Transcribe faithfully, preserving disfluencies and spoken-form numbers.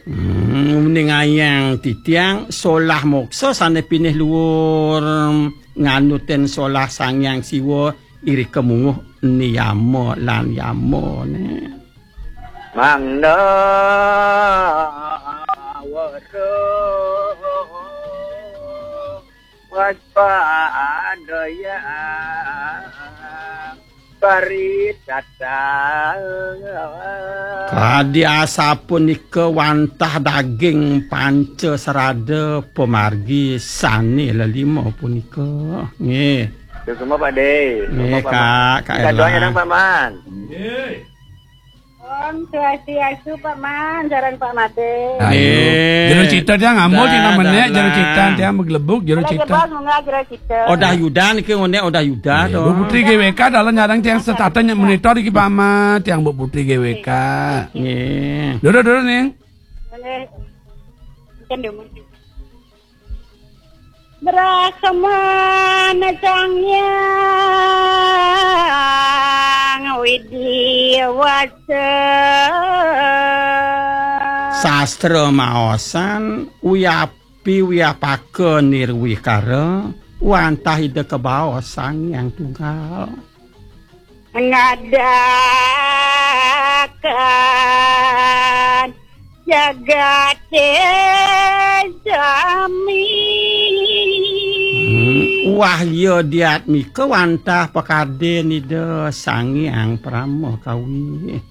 Hmm, ningayang titiang solah moksa sané pinih luur nganutin solah Sang Hyang Siwa irika munguh niyama lan yamané. Mangda wara waspadaya paritata. Kadi asapunika wantah daging panca sarada pamargi sané lelima punika. Nggih. Terus semua Pak De. Nggih, semua Pak Kak, Man. Kak Minta doanya Erlang. Dong, Pak Man. Om Swastiastu, Pak Man, jaran Pak Made. Ayo. Nggih. Jero cita tiang ambo, dah, tiang dah, menek, jero cita lah. Tiang begelebuk, jero Ada cita. Jebos, munggah jero cita. Odah Yuda niki ngoné, Odah Yuda. Nggih, to. Bu Putri G W K dalam nyarang tiang setata nyek monitor iki, Pak Man, tiang Bu Putri G W K. Nggih. Dulu, dulu, ning. Boleh. Ikan demen. Brahmana Sang Hyang Widhi Wasa. Sastra maosan, wiyapi wiyapaka nirwikara, wantah Ida kabaos Sang Hyang Tunggal. Ngadakan jagate sami. Hmm, wahya diatmika wantah pakadin Ida Sang Hyang Parama Kawi.